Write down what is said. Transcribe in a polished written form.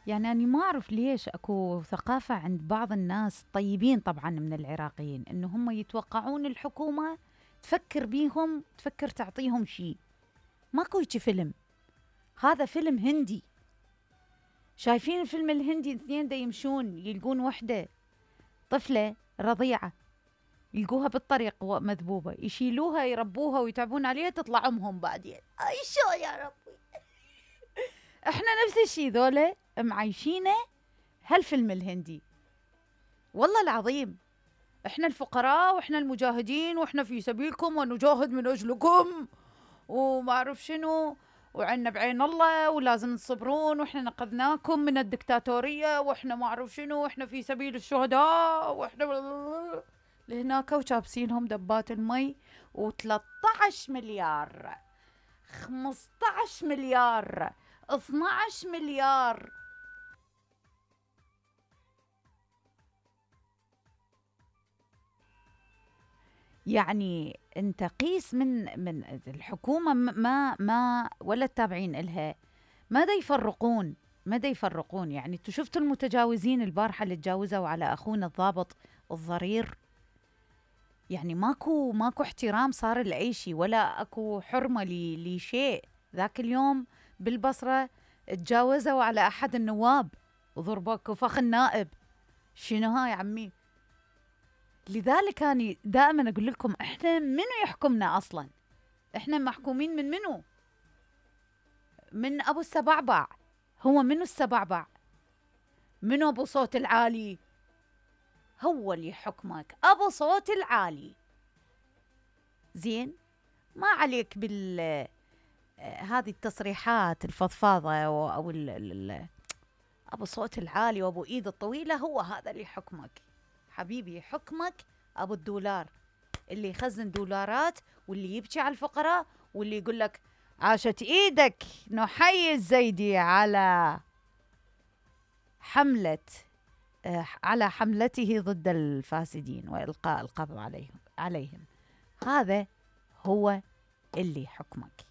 يعني أنا ما أعرف ليش أكو ثقافة عند بعض الناس طيبين طبعا من العراقيين، إنه هم يتوقعون الحكومة تفكر بيهم، تفكر تعطيهم شيء. ماكو هيجي فيلم، هذا فيلم هندي. شايفين الفيلم الهندي؟ اثنين دا يمشون يلقون وحدة طفلة رضيعة، يلقوها بالطريق مذبوبة، يشيلوها يربوها ويتعبون عليها، تطلع أمهم بعدين. أي شو يا ربي. احنا نفس الشي ذولا معيشينه هالفيلم الهندي. والله العظيم احنا الفقراء واحنا المجاهدين واحنا في سبيلكم ونجاهد من اجلكم وما اعرف شنو، وعنا بعين الله ولازم تصبرون، واحنا نقذناكم من الدكتاتورية، واحنا ما اعرف شنو، واحنا في سبيل الشهداء، واحنا لهناك وشابسينهم دبات المي. و13 مليار، 15 مليار، 12 مليار. يعني انت قيس من الحكومة، ما ولا التابعين إلها ما دا يفرقون. يعني انتوا شفتوا المتجاوزين البارحة اللي تجاوزوا على أخونا الضابط الضرير؟ يعني ماكو احترام صار لأي ولا اكو حرمة لشيء. ذاك اليوم بالبصرة تجاوزوا على أحد النواب وضربوا فخ النائب. شنو هاي عمي؟ لذلك أنا دائما أقول لكم إحنا منو يحكمنا أصلا؟ إحنا محكومين من منو؟ من أبو السبعبع. هو منو السبعبع؟ منو أبو صوت العالي؟ هو اللي يحكمك، أبو صوت العالي. زين، ما عليك هذه التصريحات الفضفاضة أو أبو صوت العالي وأبو إيد الطويلة. هو هذا اللي يحكمك حبيبي، يحكمك أبو الدولار اللي يخزن دولارات، واللي يبكي على الفقراء، واللي يقول لك عاشت إيدك نحيي الزيدي على حملته ضد الفاسدين وإلقاء القبض عليهم. هذا هو اللي يحكمك.